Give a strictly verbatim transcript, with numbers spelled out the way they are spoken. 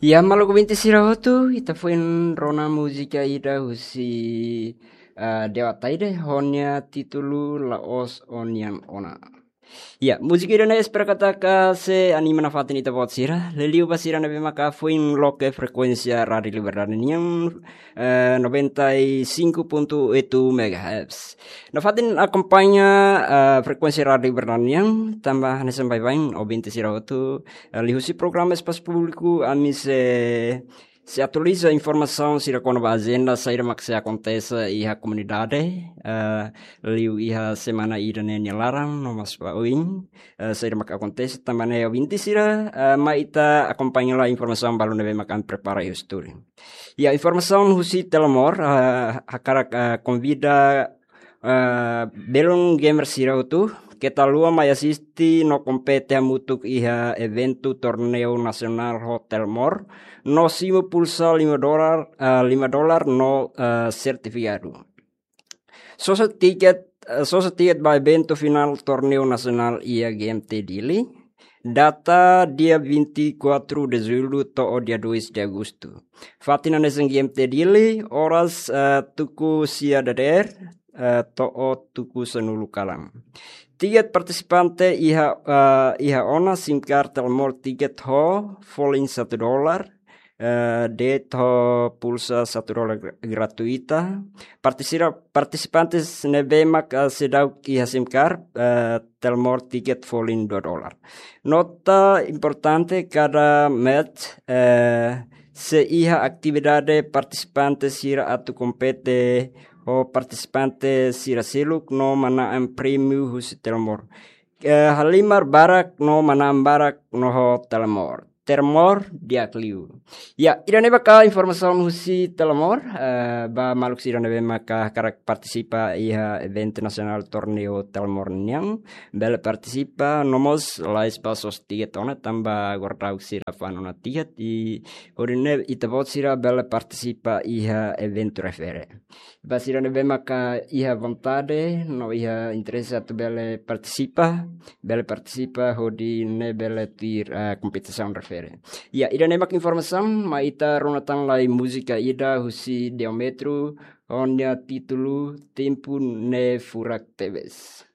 Ya, maluk ouvinte sira hotu, ita foin rona múzika ida husi, ah, Dewa Taide, ho nia títulu La'ós Ó-nian Ona. Ya, múzika ida-ne'e espera katak sei anima nafatin ita-boot sira. Liuliu ba sira ne'ebé maka foin loke frekuénsia Rádiu Liberdade nian, eh, noventa e cinco ponto oito megahertz. Nafatin akompaña, eh, frekuénsia Rádiu Liberdade nian, tanba hanesan baibain ouvinte sira hotu, eh, liuhusi programa Espasu Públiku, ami sei, sei atualiza informasaun sira kona-ba ajenda saida mak sei akontese iha komunidade, eh, liu iha semana ida-ne'e nia laran, no mós ba oin, eh, saida mak akontese, tanba ne'e ouvinte sira, eh, mai ita akompaña lai informasaun balu ne'ebé mak ami prepara iha estúdiu. Ya, informasaun husi Telmor, eh, hakarak, eh, konvida, eh, belun gamer sira hotu, keta haluha mai asiste no kompete hamutuk iha eventu torneiu nasionál ho Telmor, no simu pulsa lima dolar, eh, lima dolar no, eh, sertifikadu. Sosa tiket, eh, sosa tiket ba eventu finál torneiu nasionál iha G M T Dili. Data dia vinte e quatro de julho to'o dia dois de agosto. Fatin hanesan G M T Dili, oras, eh, tuku sia dadeer, eh, to'o tuku sanulu kalan. Tiket partisipante iha, eh, iha ona SIM card Telmor tiket ho folin satu dolar, eh, de'it ho pulsa satu dolar gra-, gratuita. Partisira-, partisipantes ne'ebé mak, eh, seidauk iha SIM card, eh, Telmor tiket folin dua dolar. Nota importante, kada match, eh, sei iha atividade partisipante sira atu kompete ho partisipante sira seluk no manán prémiu husi Telmor. Eh, halimar barak no manán barak no ho Telmor. Telmor di'ak liu. Ya, ida-ne'e maka informasaun husi Telmor, eh, ba maluk sira ne'ebé maka hakarak partisipa iha eventu nasionál torneiu Telmor nian, bele partisipa, no mós la'ós ba sosa tiket ona, tanba agora daudaun sira fa'an ona tiket, i hodi nune'e ita-boot sira bele partisipa iha eventu refere. Ba sira ne'ebé maka iha vontade, no iha interese atu bele partisipa, bele partisipa hodi nune'e bele tuir, eh, kompetisaun refere. Ya, ida-ne'e mak informasaun, mai ita rona tan lai múzika ida husi Deometro, ho nia títulu Tempu Ne'e Furak Tebes.